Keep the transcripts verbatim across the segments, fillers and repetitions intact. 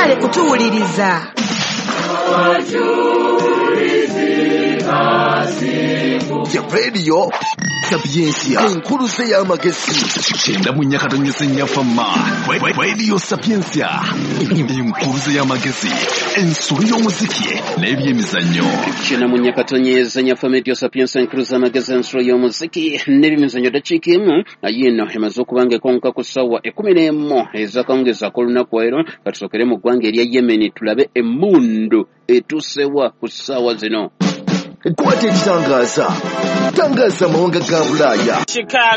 Webale kutuwuliriza. Ya Radio Sapientia, enkuluze y'amagezi. Kyenda mu nnya katonyeze nnya fama. Radio Sapientia, enkuluze y'amagezi, ensolo y'omuziki n'ebyemizannyo. Kyenda mu nnya katonyeze nnya fama, Radio Sapientia, enkuluze y'amagezi, ensolo y'omuziki n'ebyemizannyo. Dakiika emu yiino emaze okuba nga ekonka ku ssaawa ekkumi n'emu ez'akawungeezi ak'olunaku leero. Katusookere mu ggwanga erya Yemen tulabe emmundu etuusewa ku ssaawa zino. Kwata ekitangaza, tangaza amawanga ga Bulaaya.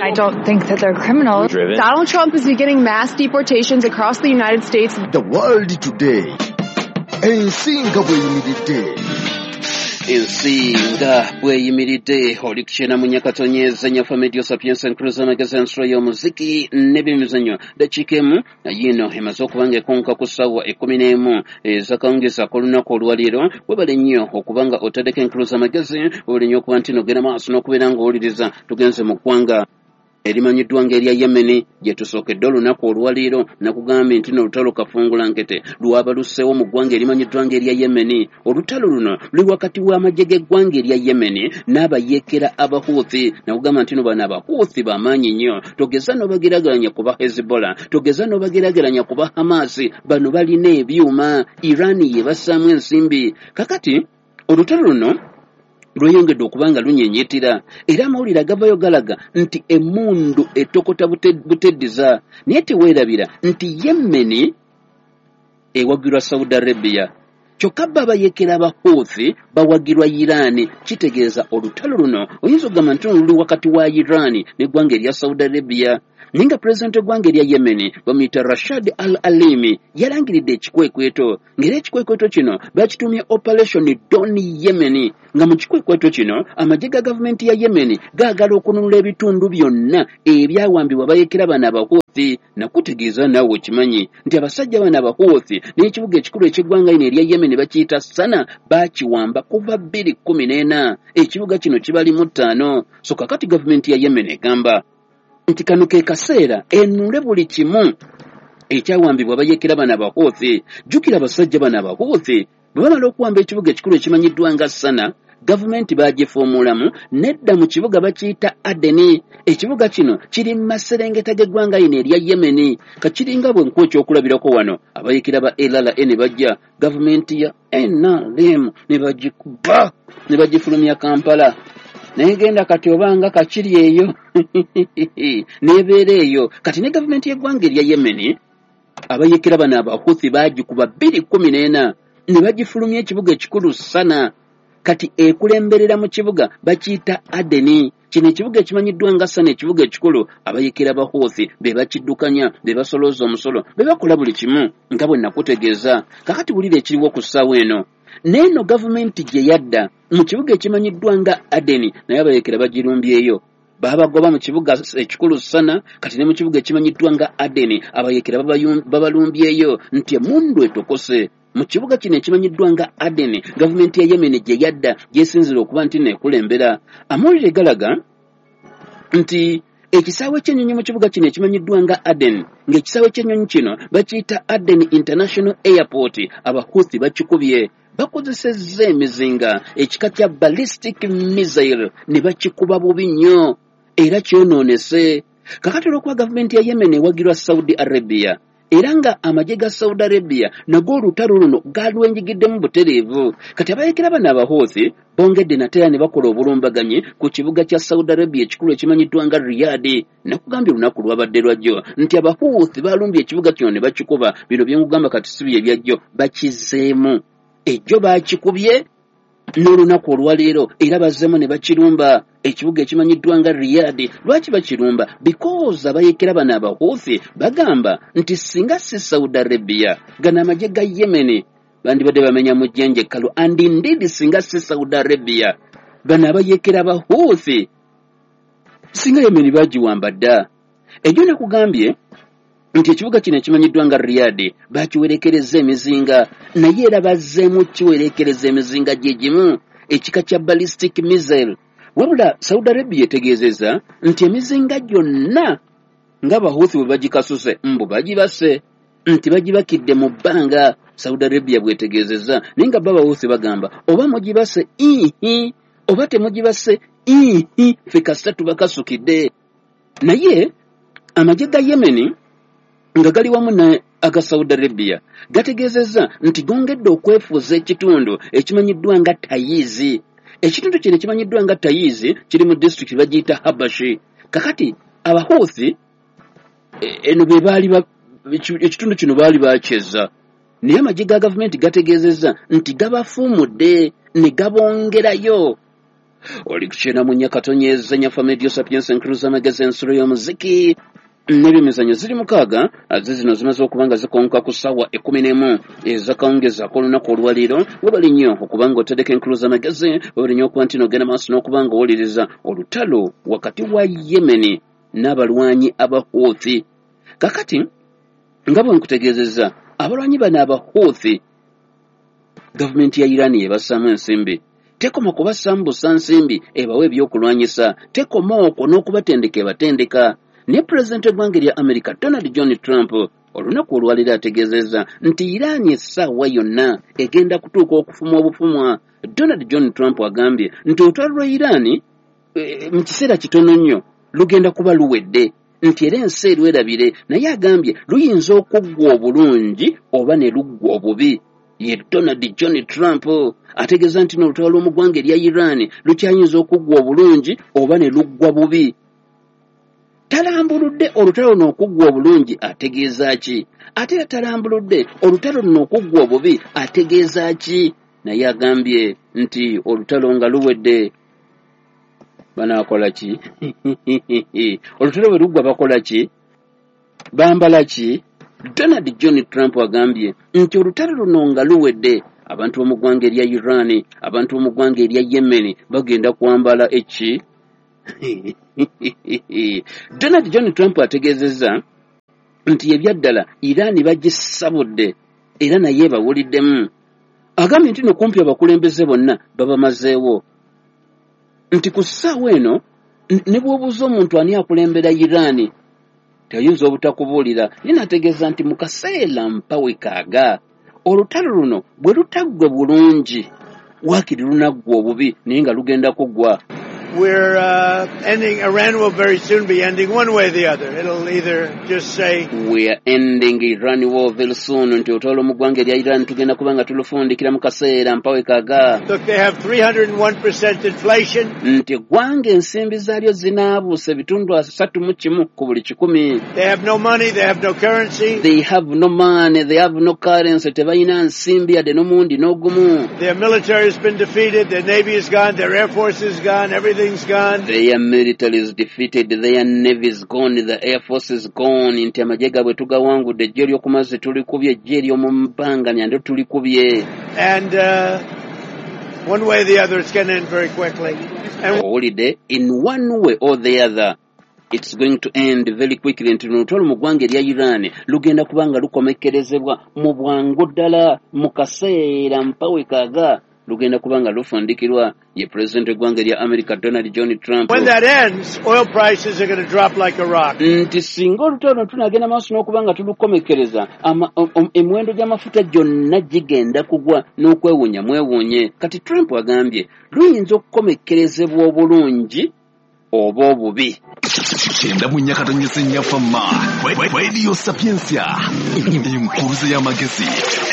I don't think that they're criminals. Donald Trump is beginning mass deportations across the United States. The World Today, ensi nga bweyimiridde. Ensi nga bweyimiridde. Oli kukyena mu nyakatonyeza nyafa, Radio Sapientia, enkuluza amagezi, ensolo y'omuziki n'ebyemizannyo. Dakiika emu yiino emaze okuba nga ekonka ku ssaawa ekkumi n'emu ez'akawungeezi ak'olunaku olwaleero. Webale nnyo okuba nga otaddeko enkuluza amagezi, webale nnyo okuba nti nogenda maaso n'okubeera ng'owuliriza. Tugenze mu ggwanga erimanyiddwa ng'erya Yemeni gye tusookedde olunaku olwaleero. Nakugambye nti n'olutalo kafungula nkete lwabaluseewo mu ggwanga erimanyiddwa ng'erya Yemeni. Olutalo luno luli wakati w'amagye g'eggwanga erya Yemeni n'abayeekera Abahuuthi. Nakugamba nti no bano Abahuuthi bamaanyi nnyo, togeza n'obageraageranya ku ba Hezbollah, togeza n'obageraageranya ku ba Hamasi. Bano balina ebyuma, Iran ye bassaamu ensimbi. Kakati olutalo luno lweyongedde okuba nga lunyenyeetera, era amawulire agavayo galaga nti emmundu etokota buteddiza. Naye teweerabira nti Yemeni ewagirwa Saudi Arabia, kyokka bo abayeekera Abahuuthi bawagirwa Iran. Kitegeeza olutalo luno oyinza okugamba nti luli wakati wa Iran n'eggwanga erya Saudi Arabia. Naye nga pulezidenti w'eggwanga erya Yemeni bamuyita Rashad Al Alimi yalangiridde ekikwekweto, ng'era ekikwekweto kino bakitumye Operation Dawn Yemen, nga mu kikwekweto kino amagye ga gavumenti ya Yemeni gaagala okununula ebitundu byonna ebyawambibwa abayeekera bano Abahuuthi. Nakutegeeza naawe okimanyi nti abasajja bano Abahuuthi n'ekibuga ekikulu eky'eggwanga lino erya Yemeni bakiyita Sana bakiwamba kuva bbiri kkumi n'ena. Ekibuga kino kibalimu ttaano. So kakati gavumenti ya Yemen egamba nti kano ke kaseera enule buli kimu ekyawambibwa abayeekera bano Abahuuthi. Jjukira abasajja bano Abahuuthi bwe bamala okuwamba ekibuga ekikulu ekimanyiddwa nga Sana, gavumenti bagifuumulamu nedda mu kibuga bakiyita Adeni. Ekibuga kino kiri mu maserengeta g'eggwanga lino erya Yemeni. Kakiringa bwe nkuwa ekyokulabirako wano, abayeekera ba L R A ne bajja, gavumenti ya N R M ne bagikuba ne bagifulumya Kampala. Naye genda kati obanga kakiri eyo n'ebeera eyo. Kati ne gavumenti y'eggwanga erya Yemeni abayeekera bano Abahuthi bagikuba bbiri kkumi n'ena ne bagifulumya ekibuga ekikulu Sana. Kati ekulemberera mu kibuga bakiyita Adeni. Kino ekibuga ekimanyiddwa nga Sana, ekibuga ekikulu, abayeekera Abahuthi be bakiddukanya, be basolooza omusolo, be bakola buli kimu nga bwe nakutegeeza. Kakati wulira ekiriwo ku ssaawa eno. N'eno gavumenti gye yadda mu kibuga ekimanyiddwa nga Adeni, naye abayeekera bagirumbyeyo. Babagoba mu kibuga ekikulu Sana, kati ne mu kibuga ekimanyiddwa nga Adeni abayeekera babalumbyeyo nti emmundu etokose. Mu kibuga kino ekimanyiddwa nga Adeni, gavumenti ya Yemen gye yadda gyesinzira okuba nti neekulembera. Amawulire galaga nti ekisaawe ky'ennyonyi mu kibuga kino ekimanyiddwa nga Aden, ng'ekisaawe ky'ennyonyi kino bakiyita Aden International Airport, Abahuthi bakikubye. Bakozesezza emizinga ekika kya ballistic missile ne bakikuba bubi nnyo era kyonoonese. Kakati olw'okuba gavumenti ya Yemen ewagirwa Saudi Arabia, era nga amagye ga Saudi Arabia nago olutalo luno galwenjigiddemu butereevu, kati abayeekera bano Abahuthi bongedde nate era ne bakola obulumbaganyi ku kibuga kya Saudi Arabia ekikulu ekimanyiddwa nga Riyadh. Nakugambye olunaku lwabadde lwajjo nti Abahuthi balumbye ekibuga kino ne bakikuba. Bino bye nkugamba kati si bye byajjo, bakizeemu. Ejjo bakikubye n'olunaku olwaleero era bazzeemu ne bakirumba ekibuga ekimanyiddwa nga Riyadh. Lwaki bakirumba? Because abayeekera bano Abahuthi bagamba nti singa si Saudi Arabia, gano amagye ga Yemen bandibadde bamenya mu jjenje ekkalu. And indeed singa si Saudi Arabia, bano abayeekera Abahuthi singa Yemen bagiwamba dda. Ejjo nakugambye nti ekibuga kino ekimanyiddwa nga Riyadh bakiwerekereza emizinga, naye era bazzeemu kiwerekereza emizinga gye gimu ekika kya ballistic missile. Wabula Saudi Arabia etegeezezza nti emizinga gyonna nga Abahuthi bwe bagikasuse mbu bagibase, nti bagibakidde mu bbanga. Saudi Arabia bwetegeezezza. Naye nga bo Abahuthi bagamba oba mugibase ihi oba temugibase ihi, ffe kasita tubakasukidde. Naye amagye ga Yemeni nga gali wamu ne aga Saudi Arabia gategeezezza nti gongedde okwefuuza ekitundu ekimanyiddwa nga Tayizi. Ekitundu kino ekimanyiddwa nga Tayizi kiri mu disitulikiti bagiyita Habashi. Kakati Abahuthi eno be baali ekitundu kino baali bakyeza, naye amagye ga gavumenti gategeezezza nti gabafuumudde ne gabongerayo. Oli kukyena mu Nyakatonyeza Nyafa Media Sapiens Encruza amagezi ensulo y'omuziki n'ebyemizannyo ziri mukaaga ze zino zimaze okuba nga zikonka ku ssaawa ekkumi n'emu ezakawungezaako olunaku olwaleero. Webali nnyo okuba nga oteddeko enkuluza amagezi, webali nnyo okuba nti n'ogenda maaso n'okuba nga owuliriza olutalo wakati wa Yemeni n'abalwanyi Abahuthi. Kakati nga bwe nkutegeezezza, abalwanyi bano Abahuthi gavumenti ya Iran yebassaamu ensimbi. Tekoma kubassaamu busa nsimbi ebawa ebyokulwanyisa, tekoma okwo n'okubatendeka ebatendeka. Ne pulezidenti w'eggwanga erya America Donald John Trump olunaku olwaleero ategeezezza nti Iran essaawa yonna egenda kutuuka okufumwa obufumwa. Donald John Trump agambye nti olutalo lwa Iran e, mu kiseera kitono nnyo lugenda kuba luwedde, nti era ensi erwerabire, naye agambye luyinza okuggwa obulungi oba ne luggwa obubi. Ye Donald John Trump ategeeza nti n'olutalo lw'omu ggwanga erya Iran lukyayinza okuggwa obulungi oba ne luggwa bubi. Talambuludde olutalo luno okuggwa obulungi ategeeza ki, ate era talambuludde olutalo luno okuggwa obubi ategeeza ki. Naye agambye nti olutalo nga luwedde banaakola ki? Olutalo bwe luggwa bakola ki? Bambala ki? Donald John Trump agambye nti olutalo luno nga luwedde abantu b'omu ggwanga erya Iran, abantu b'omu ggwanga erya Yemen bagenda kwambala eki? Donald John Trump ategeezezza nti ebyaddala Iran bagisabudde era naye bawuliddemu. Agambye nti no kumpi abakulembeze bonna babamazeewo, nti ku ssaawa eno ne bw'obuuza omuntu ani akulembera Iran tayinza obutakubuulira. Naye n'ategeeza nti mu kaseera mpawe kaaga olutalo luno bwe lutaggwe bulungi waakiri lunaggwa obubi, naye nga lugenda kuggwa. We're uh, ending, Iran will very soon be ending one way or the other. It'll either just say, we are ending Iran war very soon, nti olutalo mu ggwanga erya Iran tugenda kuba nga tulufundikira mu kaseera mpawe kaga. Look, they have three hundred and one percent inflation. Nti eggwanga ensimbi zaalyo zinaabuusa ebitundu asatu mu kimu ku buli kikumi. They have no money, they have no currency. They have no money, they have no currency, tebalina nsimbi yadde n'omundi n'ogumu. Their military has been defeated, their navy is gone, their air force is gone, everything. Gone. Their military is defeated, their navy is gone, the air force is gone. Nti amagye gaabwe tugawangudde, eggye ery'oku mazzi tulikubye, eggye ery'omu bbanga nalyo tulikubye. And uh, one way or the other, it's going to end very quickly. And owulidde, in one way or the other it's going to end very quickly. Nti olutalo mu ggwanga erya Iran lugenda kuba nga lukomekkerezebwa mu bwangu ddala mu kaseera mpawe kaaga lugenda kuba nga lufundikirwa. Ye pulezidenti w'eggwanga erya America Donald John Trump. When that ends, oil prices are going to drop like a rock. Nti singa olutalo tunagenda maaso n'okuba nga tulukomekkereza, emiwendo gy'amafuta gyonna gigenda kugwa n'okwewuunya mwewuunye. Kati Trump agambye luyinza okukomekkerezebwa obulungi oba obubi. Kyenda mu Nyakatonyeza Nyafama Radio Sapientia, enkuruza y'amagezi,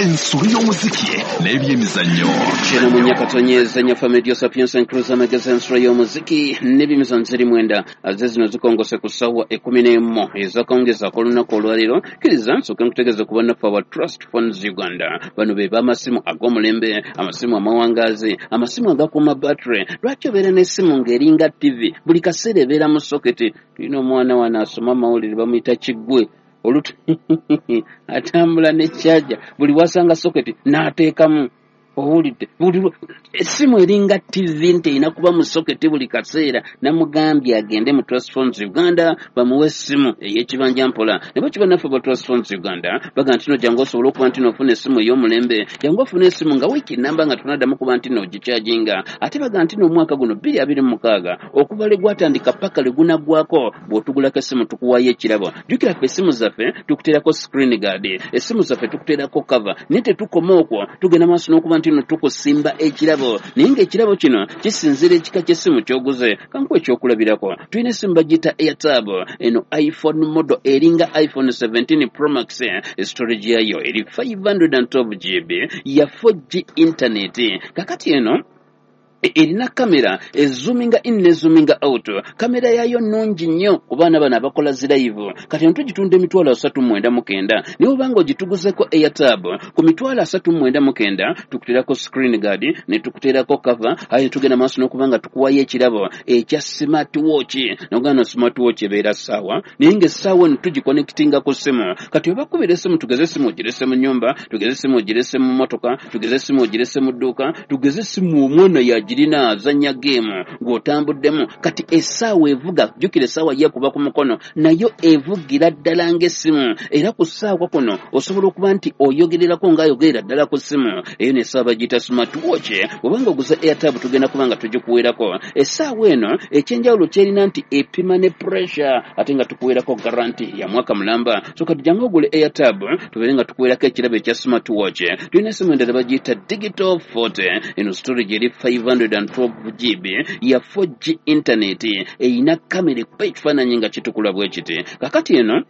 ensulo y'omuziki n'ebyemizannyo. Kyenda mu Nyakatonyeza Nyafama Radio Sapientia, enkuruza y'amagezi, ensulo y'omuziki n'ebyemizannyo ziri mwenda ze zino zikongose ku ssaawa ekkumi n'emu ezakawungezaako olunaku olwaleero. Kkiriza nsooke nkutegeeze ku bannaffe aba Trust Funds Uganda. Bano be b'amasimu ag'omulembe, amasimu amawangaazi, amasimu agakuuma battery. Lwaki obeera n'essimu ng'eringa T V buli kaseera ebeera mu soketi? Tulina omwana wano asoma amawulire bamuyita Kiggwe, olutu atambula ne charger, buli wasanga soketi n'ateekamu. Owulidde buli essimu eringa T V nti erina kuba mu soketi buli kaseera. Namugambye agende mu Trust Funds Uganda bamuwe essimu ey'ekibanja mpola. Ne bwe kiba naffe ba Trust Funds Uganda baga nti no jangu osobola okuba nti n'ofuna essimu ey'omulembe, jangu ofune essimu nga wiiki nnamba nga tonaddamu kuba nti n'ogikyajinga. Ate baga nti n'omwaka guno bbiri abiri mu mukaaga okuva lwe gwatandika paka lwe gunaggwako bw'otugulako essimu tukuwaayo ekirabo. Jjukira ffe essimu zaffe tukuteerako screen guard, essimu zaffe tukuteerako cover, naye tetukoma okwo, tugenda maaso n'okuba nti no tukusimba ekirabo. Naye ng'ekirabo kino kisinziira ekika ky'essimu ky'oguze. Kankuwe ekyokulabirako, tulina essimu bagiyita Airtab, eno iPhone model eringa iPhone seventeen Pro Max, storage yayo eri five hundred and twelve G B ya four G internet. Kakati eno erina kamera ezoominga in ne zoominga out. Kamera yayo nnungi nnyo ku baana bano abakola zi live. Kati eno tugitunda emitwalo asatu mu mwenda mu kenda, naye obanga ogituguzeko Airtab ku mitwalo asatu mu mwenda mu kenda tukuteerako screen guard ne tukuteerako cover, aye tugenda maaso n'okuba nga tukuwayo ekirabo ekya smart watch. Nogamba smart watch ebeera ssaawa, naye ng'essaawa eno tugiconnectinga ku ssimu. Kati obakubira essimu, tugeze essimu ogirese mu nnyumba, tugeze essimu ogirese mu mmotoka, tugeze essimu ogirese mu dduuka, tugeze essimu omwana ya girina azannya geemu ng'otambuddemu. Kati essaawa evuga, jjukira essaawa yeekuba ku mukono, nayo evugira ddala ng'essimu. Era ku ssaawa kuno osobola okuba nti oyogererako ng'ayogerera ddala ku ssimu. Eyo n'essaawa bagiyita smart watch. Obanga oguze Airtab tugenda kuba nga tugikuweerako. Essaawa eno ekyenjawulo kyerina nti epima ne pressure, ate nga tukuweerako guarantee ya mwaka mulamba. So kati jangu ogule Airtab tubeere nga tukuweerako ekirabo ekya smart watch. Tulina essimu endala bagiyita Digital forty, eno storage eri five hundred and twelve G B ya four G internet, erina kamera ekuba ekifaananyi nga kitukula bwe kiti. Kakati eno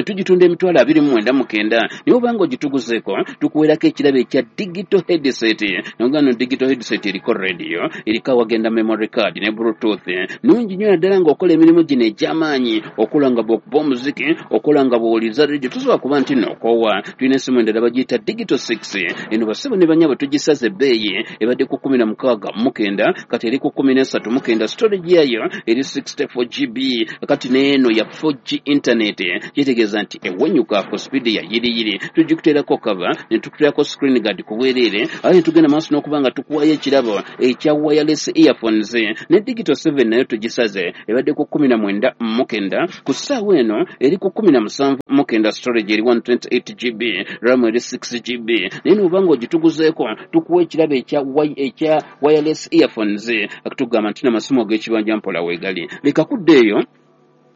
tugitunda emitwalo abiri mu mwenda mu kenda, naye obanga ogituguzeeko tukuweerako ekirabo ekya digital headset. Nogamba digital headset eriko radio, eriko awagenda memory card ne bluetooth. Nnungi nnyo naddala ng'okola emirimu gino egy'amaanyi, okola nga bw'okuba omuziki, okola nga bw'owuliriza radio, tosobola kuba nti n'okoowa. Tulina essimu endala bagiyita Digital six, eno bassebo ne bannyabo tugisaze ebbeeyi, ebadde ku kkumi na mukaaga mu kenda, kati eri ku kkumi n'esatu mu kenda. Storage yayo eri sixty four G B, kati n'eno ya four G internet, kitegeeza nti ewenyuka ku speed ya yiriyiri. Tugikuteerako cover ne tukuteerako screen guard ku bwereere, aye tugenda maaso n'okuba nga tukuwayo ekirabo ekya wireless earphones. Ne Digital seven nayo tugisaze, ebadde ku kkumi na mwenda mu kenda, ku ssaawa eno eri ku kkumi na musanvu mu kenda, storage eri one twenty eight G B, RAM eri six G B. Naye n'obanga ogituguzeeko tukuwa ekirabo ekya ekya wireless earphones. Akutugamba nti n'amasimu ag'ekibanja mpola weegali. Leka kudda eyo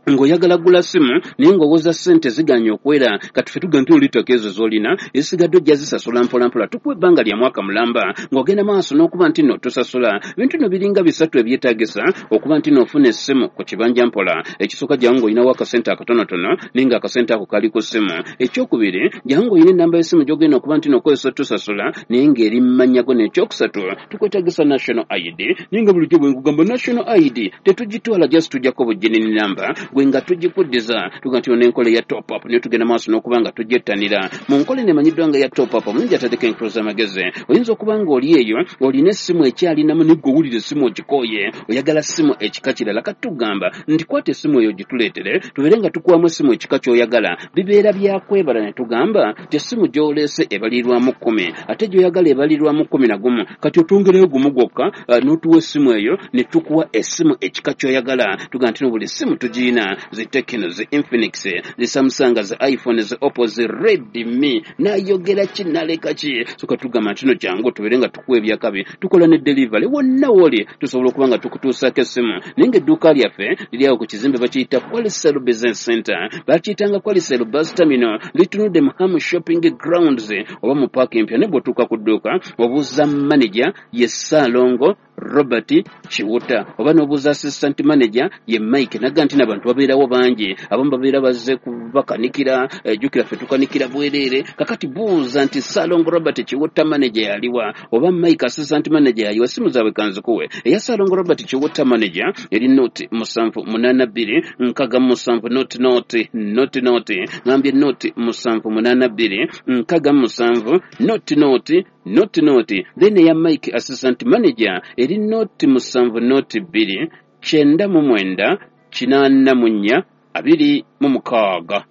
ng'oyagala gula simu naye ng'owoza ssente ziganye okwera. Kati ffe tugamba nti olitako ezo z'olina ezisigadde ojja zisasula mpolampola, tukuwa ebbanga lya mwaka mulamba ng'ogenda maaso n'okuba nti nno tusasula. Bintu nno biringa bisatu ebyetaagisa okuba nti n'ofuna essimu ku kibanja mpola. Ekisooka, jangu ng'olinawo akasente akatonotono naye ng'akasente ako kali ku ssimu. Ekyokubiri, jangu ng'olina ennamba y'essimu gy'ogenda okuba nti n'okozesa otusasula naye ng'eri mu mannya go. N'ekyokusatu, tukwetaagisa national I D, naye nga bulijjo bwe nkugamba national I D tetugitwala, just tujjako bugginini namba gwe nga tugikuddiza. Tugamba nti n'enkola eya top up naye tugenda maaso n'okuba nga tugyettanira. Mu nkola eno emanyiddwa nga eya top up, omulungi atadeko enkulu z'amagezi. Oyinza okuba ng'oli eyo olina essimu ekyalinamu naye ggwe owulira essimu ogikooye, oyagala ssimu ekika kirala. Kati tugamba nti kwata essimu eyo ogituleetere tubeere nga tukuwamu essimu ekika ky'oyagala. Bibeera byakwebala ne tugamba nti essimu gy'oleese ebalirwamu kkumi, ate gy'oyagala ebalirwamu kkumi na gumu. Kati otwongereyo gumu gwokka n'otuwa essimu eyo ne tukuwa essimu ekika ky'oyagala. Tugamba nti no buli ssimu tugirina, zi Tecno, zi Infinix, zi Samsung, zi iPhone, zi Oppo, zi Redmi. Nayogera ki naleka ki? So katugamba nti no jangu tubeere nga tukuwa ebyakabi, tukola ne delivery wonna w'oli, tusobola okuba nga tukutuusaako essimu. Naye ng'edduuka lyaffe liri awo ku kizimbe bakiyita Qualicel Business Center, bakiyitanga Qualicel Bus Terminal, litunudde mu Ham Shopping Grounds oba mu paaka empya. Naye bw'otuuka ku dduuka obuuza manager ye Ssaalongo Robert Kiwuta, oba n'obuuza assistant manager ye Mike. Naga nti n'abantu babeerawo bangi, abamu babeera bazze kubakanikira, jjukira ffe tukanikira bwereere. Kakati buuza nti Ssaalongo Robert Kiwuta manager yaliwa, oba Mike assistant manager yaliwa. Essimu zaabwe kanzikuwe. Eya Ssaalongo Robert Kiwuta manager eri noti musanvu munaana bbiri nkaga musanvu noti noti noti noti, ngambye noti musanvu munaana bbiri nkaga musanvu noti noti noti noti. Then eya Mike assistant manager eri noti musanvu noti bbiri kyenda mu mwenda kinaana mu nnya abiri mu mukaaga.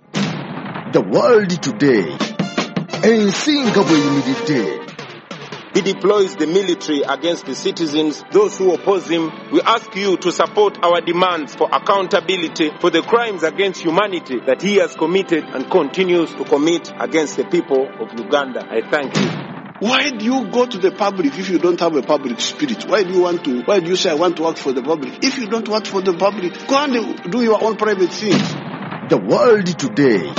The World Today, ensi nga bw'eyimiridde. He deploys the military against the citizens, those who oppose him. We ask you to support our demands for accountability for the crimes against humanity that he has committed and continues to commit against the people of Uganda. I thank you. Why do you go to the public if you don't have a public spirit? Why do you want to, why do you say I want to work for the public? If you don't work for the public, go and do your own private things. The World Today.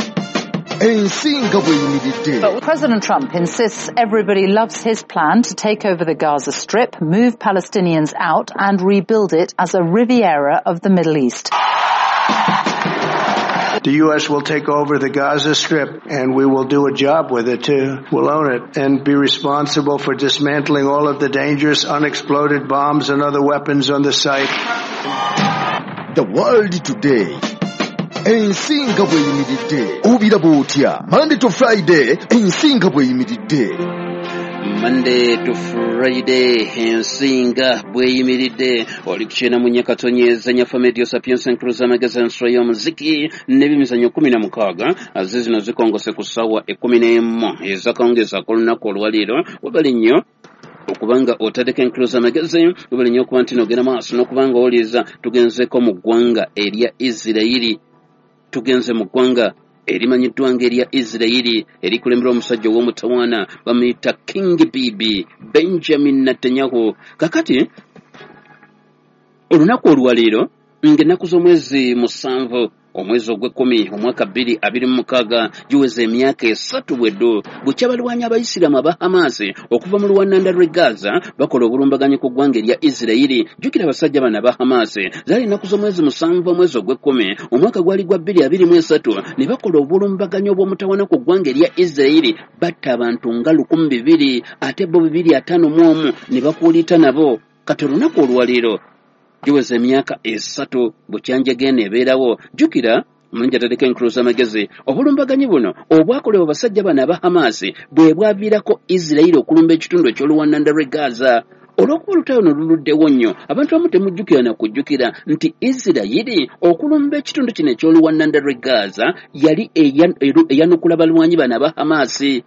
Ensinga bweyimiridde. But President Trump insists everybody loves his plan to take over the Gaza Strip, move Palestinians out and rebuild it as a Riviera of the Middle East. The U S will take over the Gaza Strip and we will do a job with it too. We'll own it and be responsible for dismantling all of the dangerous unexploded bombs and other weapons on the site. The World Today. Ensinga bweyimiridde. Obiraba otya? Monday to Friday, ensinga bweyimiridde. Monday to Friday, ensinga bweyimiridde. Oli kukyena mu Nyakatonyeza Nyafa Media Sapiens Cruiser Magazine ensolo y'omuziki n'ebimizannyo kumi na mukaaga ze zino zikongose ku ssaawa ekkumi n'emu ezakawungeezi ak'olunaku olwaleero. Webale nnyo okubanga otaddeko Encruiser Magazine, webale nnyo okuba nti n'ogenda maaso n'okubanga owuliriza. Tugenzeko mu ggwanga erya Isirayiri, tugenze mu ggwanga erimanyiddwa ng'erya Isirayiri erikulemberwa omusajja ow'omutawaana bamuyita King Bibi Benjamin Netanyahu. Kakati olunaku olwaleero ng'ennaku z'omwezi musanvu omwezi ogw'ekkumi omwaka bbiri abiri mu mukaaga giweza emyaka esatu bweddo bukya abalwanyi abayisiraamu aba Hamas okuva mu luwananda lw'e Gaza bakola obulumbaganyi ku ggwanga erya Isirayiri. Jjukira abasajja bano aba Hamas zaali ennaku z'omwezi musanvu omwezi ogw'ekkumi omwaka gwali gwa bbiri abiri mu esatu ne bakola obulumbaganyi obw'omutawaana ku ggwanga erya Isirayiri, batta abantu nga lukumi bibiri ate bo bibiri ataano mu omu ne bakuuliita nabo. Kati olunaku olwaleero giweza emyaka esatu bukyanjegene ebeerawo. Jjukira mulungi atadeko Encruiser Magazine, obulumbaganyi buno obwakolebwa abasajja bano aba Hamas bwe bwaviirako Isirayiri okulumba ekitundu eky'oluwananda lw'e Gaza. Olw'okuba olutalo luno luluddewo nnyo, abantu abamu temujjukira na kujjukira nti Isirayiri okulumba ekitundu kino eky'oluwananda lw'e Gaza yali eyanukula balwanyi bano aba Hamas,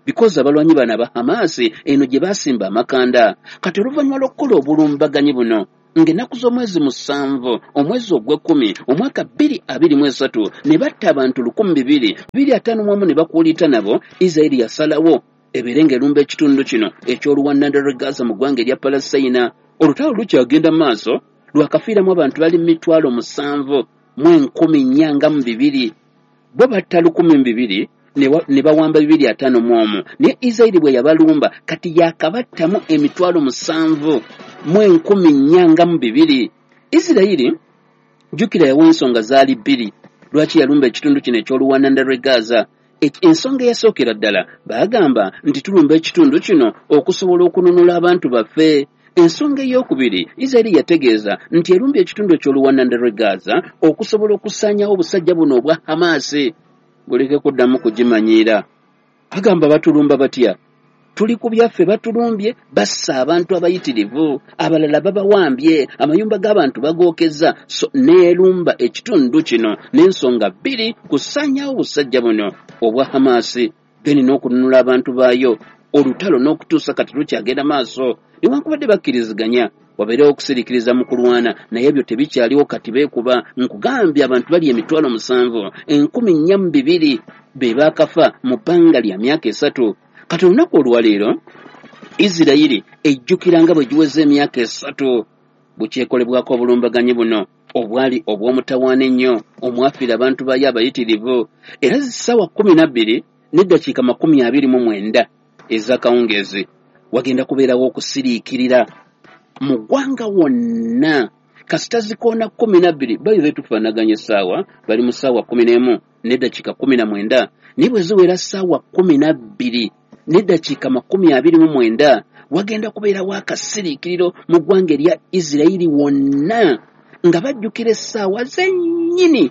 because abalwanyi bano aba Hamas eno gye baasimba amakanda. Kati oluvannyuma lw'okukola obulumbaganyi buno ng'ennaku z'omwezi musanvu omwezi ogw'ekkumi omwaka bbiri abiri mu esatu ne batta abantu lukumi bibiri bibiri ataano mu omu ne bakuuliita nabo, Isirayiri yasalawo ebeere ng'erumba ekitundu kino eky'oluwananda lw'e Gaza mu ggwanga erya Palestina. Olutalo lukyagenda mu maaso, lwakafiiramu abantu bali mu mitwalo musanvu mu enkumi nnya nga mu bibiri. Bo batta lukumi mu bibiri ne bawamba bibiri ataano mu omu, naye Isirayiri bwe yabalumba kati yakabattamu emitwalo musanvu mu enkumi nnya nga mu bibiri. Isirayiri jjukira yawa ensonga zaali bbiri lwaki yalumba ekitundu kino eky'oluwananda lw'e Gaza. Ensonga eyasookera ddala baagamba nti tulumba ekitundu kino okusobola okununula abantu baffe. Ensonga ey'okubiri, Isirayiri yategeeza nti erumbye ekitundu eky'oluwananda lw'e Gaza okusobola okusaanyaawo obusajja buno obwa Hamas buleke kuddamu kugimanyiira. Agamba batulumba batya? Tuli ku byaffe, batulumbye, bassa abantu abayitirivu, abalala babawambye, amayumba g'abantu bagookeza. So neerumba ekitundu kino n'ensonga bbiri, kusaanyaawo obusajja buno obwa Hamas then n'okununula abantu baayo. Olutalo n'okutuusa kati lukyagenda maaso, newankubadde bakkiriziganya wabeerewo okusiriikiriza mu kulwana, naye ebyo tebikyaliwo kati beekuba. Nkugambye abantu bali emitwalo musanvu enkumi nnya mu bibiri be baakafa mu bbanga lya myaka esatu. Kati olunaku olwaleero Isirayiri ejjukira nga bwe giweza emyaka esatu bukyekolebwako obulumbaganyi buno obwali obw'omutawaana ennyo omwafiira abantu baayo abayitirivu. Era ssaawa kkumi na bbiri n'eddakiika makumi abiri mu mwenda ez'akawungeezi wagenda kubeerawo okusiriikirira mu ggwanga wonna. Kasita zikoona kkumi na bbiri, bayize tufaanaganya essaawa, bali mu ssaawa kkumi n'emu n'eddakiika kkumi na mwenda, naye bwe ziwera ssaawa kkumi na bbiri n'eddakiika makumi abiri mu mwenda wagenda kubeerawo akasiriikiriro mu ggwanga erya Isirayiri wonna nga bajjukira essaawa zennyini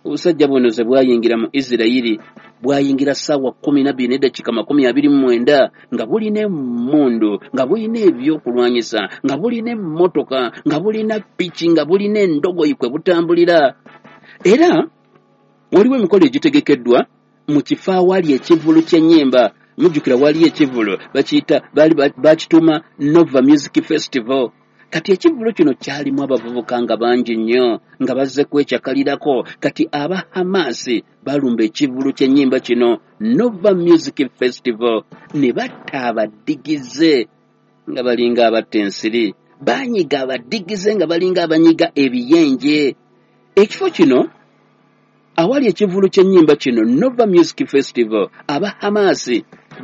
obusajja buno ze bwayingira mu Isirayiri. Bwayingira ssaawa kkumi na bbiri n'eddakiika makumi abiri mu mwenda nga bulina emmundu, nga bulina ebyokulwanyisa, nga bulina emmotoka, nga bulina piki, nga bulina endogoyi kwe butambulira. Era waliwo emikolo egitegekeddwa mu kifo awali ekivvulu ky'ennyimba. Mujjukira waliyo ekivvulo bakiyita baali bakituuma Nova Music Festival. Kati ekivvulo kino kyalimu abavubuka nga bangi nnyo nga bazze kwekyakalirako. Kati aba Hamas balumba ekivvulo ky'ennyimba kino Nova Music Festival ne batta abadigize nga balinga abatta ensiri, banyiga abadigize nga balinga abanyiga ebiyenje. Ekifo kino awali ekivvulo ky'ennyimba kino Nova Music Festival, aba Hamas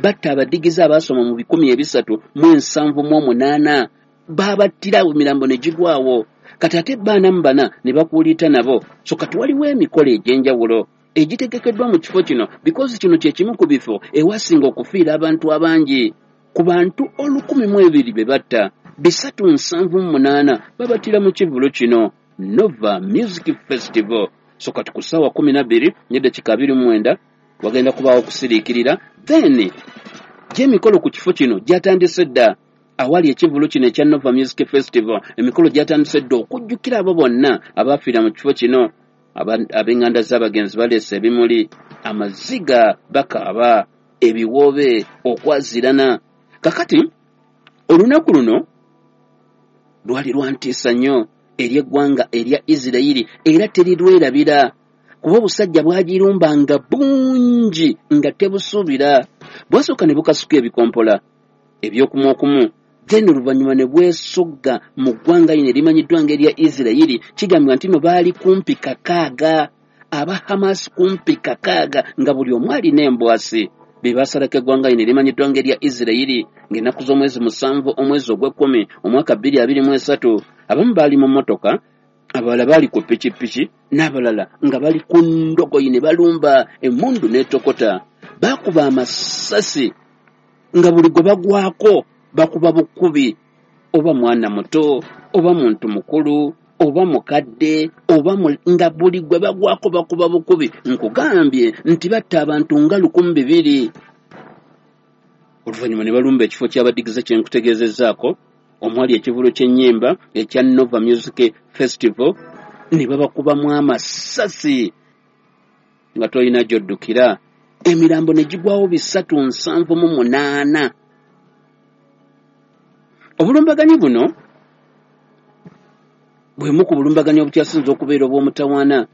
batta abadigize abaasoma mu bikumi ebisatu mu ensanvu mu omunaana, babattira emirambo ne gigwawo. Kati ate baana mu bana ne bakuuliita nabo. So kati waliwo emikolo egy'enjawulo egitegekeddwa mu kifo kino, because kino kye kimu ku bifo ewasinga okufiira abantu abangi. Ku bantu olukumi mu ebiri be batta, bisatu nsanvu mu munaana babattira mu kivvulo kino Nova Music Festival. So kati ku ssaawa kkumi na bbiri n'eddakiika abiri mu mwenda wagenda kubaawo okusiriikirira. Then gy'emikolo ku kifo kino gyatandise dda. Awali ekivvulo kino ekya Nova Music Festival, emikolo gyatandise dda okujjukira abo bonna abaafiira mu kifo kino. Ab'enganda z'abagenzi baleese ebimuli, amaziga bakaaba, ebiwoobe, okwazirana. Kakati olunaku luno lwali lwa ntiisa nnyo eri eggwanga erya Isirayiri, era terirwerabira, kuba obusajja bwagirumbanga bungi nga tebusuubira. Bwasooka ne bukasuka ebikompola ebyokumu okumu, then oluvannyuma ne bwesogga mu ggwanga lino erimanyiddwa ng'erya Isirayiri. Kigambibwa nti no baali kumpi kakaaga, aba Hamas kumpi kakaaga, nga buli omu alina embwasi. Be basalako eggwanga lino erimanyiddwa ng'erya Isirayiri ng'ennaku z'omwezi musanvu omwezi ogw'ekkumi omwaka bbiri abiri mu esatu. Abamu baali mu mmotoka, abalala baali ku pikipiki, n'abalala nga bali ku ndogoyi ne balumba emmundu n'etokota. Baakuba amasasi nga buli gwe bagwako bakuba bukubi, oba mwana muto oba muntu mukulu oba mukadde oba nga buli gwe bagwako bakuba bukubi. Nkugambye nti batta abantu nga lukumi bibiri. Oluvannyuma ne balumba ekifo ky'abadigize kye nkutegeezezzaako omwali ekivvulo ky'ennyimba ekya Nova Music Festival, ne babakubamu amasasi nga tolina gy'oddukira. Emirambo ne gigwawo bisatu nsanvu mu munaana. Obulumbaganyi buno bwemu ku bulumbaganyi obukyasinze okubeera obw'omutawaana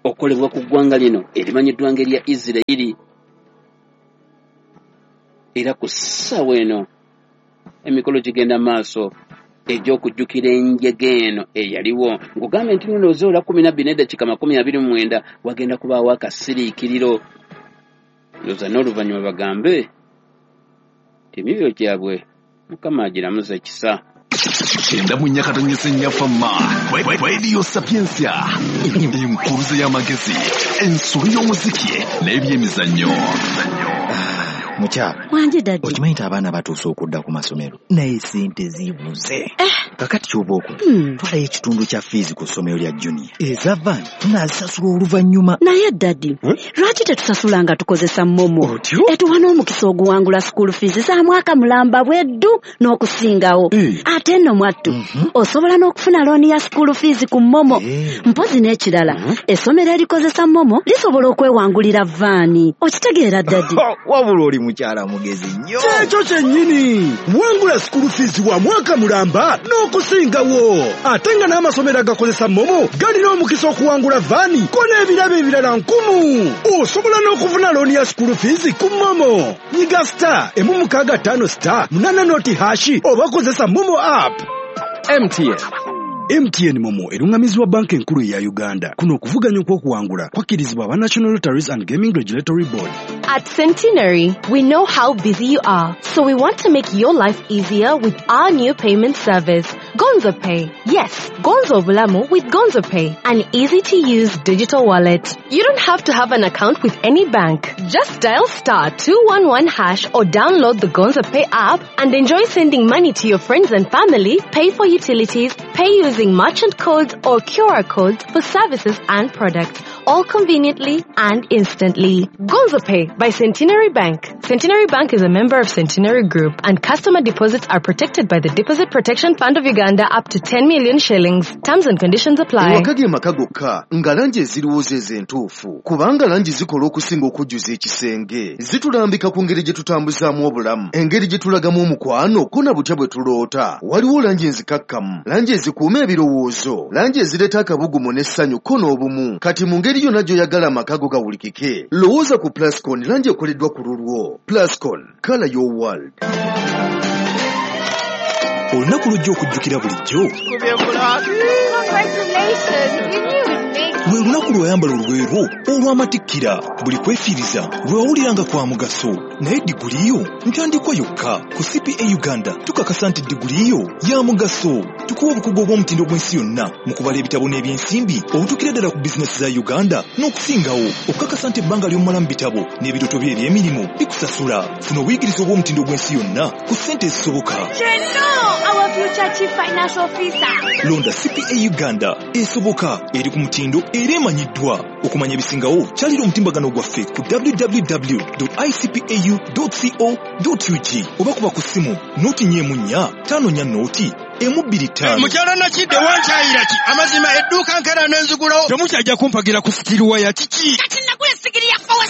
okukolebwa ku ggwanga lino erimanyiddwa ng'erya Isirayiri. Era ku ssaawa eno emikolo gigenda maaso egy'okujjukira enjega eno eyaliwo. Nkugambye nti nno ozoola kkumi na bbiri n'eddakiika makumi abiri mu mwenda wagenda kubaawo akasiriikiriro. Ndowooza n'oluvannyuma bagambe nti emyoyo gyabwe Mukama agiramuze ekisa. Kyenda mu nnyakatonyesa ennyafama Radio Sapientia, enkuruze y'amagezi, ensolo y'omuziki n'ebyemizannyo. Mukyala wanje daddy, okimanyi nti abaana batuuse okudda ku masomero naye sente zibuze. Kakati ky'oba okola, twalayo ekitundu kya fiizi ku ssomero lya Junior, eza vaani tunaazisasula oluvannyuma. Naye daddy, lwaki tetusasula nga tukozesa MoMo? Etuwa n'omukisa oguwangula school fees za mwaka mulamba bweddu n'okusingawo. Ate nno mwattu osobola n'okufuna looni ya school fees ku MoMo. Mpozi n'ekirala, essomero erikozesa MoMo lisobola okwewangulira vaani. Okitegeera daddy? Wabula oli mukyala mugezi nnyo. Kyekyo kyennyini, wangula school fees wa mwaka mulamba n'okusingawo. Ate nga n'amasomero agakozesa MoMo galina omukisa okuwangula vaani ko n'ebirabo ebirala nkumu. Osobola n'okufuna looni ya school fees ku MoMo. Nyiga star emu mukaaga ttaano star munaana noti hashi oba kozesa MoMo app. M T N. M T N MoMo erungamizibwa banka enkulu eya Uganda. Kuno okuvuganya okw'okuwangula kwakkirizibwa aba National Lotteries and Gaming Regulatory Board. At Centenary, we know how busy you are, so we want to make your life easier with our new payment service, Gonzo Pay. Yes, Gonzo Bulamu with Gonzo Pay, an easy-to-use digital wallet. You don't have to have an account with any bank. Just dial star two one one hash or download the Gonzo Pay app and enjoy sending money to your friends and family, pay for utilities, pay using merchant codes or Q R codes for services and products, all conveniently and instantly. Gonzo Pay By Centenary Bank. Centenary Bank is a member of Centenary Group, and customer deposits are protected by the Deposit Protection Fund of Uganda up to ten million shillings. Terms and conditions apply. Ewaka ge maka gokka nga langi eziriwo ze entuufu, kubanga langi zikola okusinga okujjuza ekisenge. Zitulambika ku ngeri gye tutambuzaamu obulamu, engeri gye tulagamu omukwano, ko na butya bwe tuloota. Waliwo langi enzikakkamu, langi ezikuuma ebirowoozo, langi ezireeta akabugumu n'essanyu ko n'obumu. Kati mu ngeri yonna gy'oyagala amaka go gawulikike, lowooza ku Plascon, langi ekoleddwa ku lulwo. Plascon, color your world. Olunaku lujja okujjukira bulijjo lwe lunaku lw'oyambala olugoye lwo olw'amatikkira. Buli kwefiiriza lwe wawuliranga kwa mugaso, naye diguli yo ntandikwa yokka. Ku C P A Uganda tukakasa nti diguli yo ya mugaso. Tukuwa obukugu obw'omutindo gw'ensi yonna mu kubala ebitabo n'ebyensimbi obutuukira ddala ku bizinesi za Uganda n'okusingawo, okukakasa nti ebbanga ly'omala mu bitabo n'ebirooto bye eby'emirimu bikusasula. Funa obuyigirize obw'omutindo gw'ensi yonna ku ssente ezisoboka. Our future chief financial officer. Londa C P A Uganda, esoboka, eri ku mutindo era emanyiddwa. Okumanya ebisingawo kyalira omutimbagano gwaffe ku w w w dot i c p a u dot co dot u g oba kuba ku ssimu noti nnya emu nnya ttaano nnya noti emu bbiri ttaano. Mukyala Nakidde wankyayira ki? Amazima edduuka nkera n'enzigulawo. Temukyajja kumpagira ku sitiriwa ya kiki? Kati nagula essigiri ya four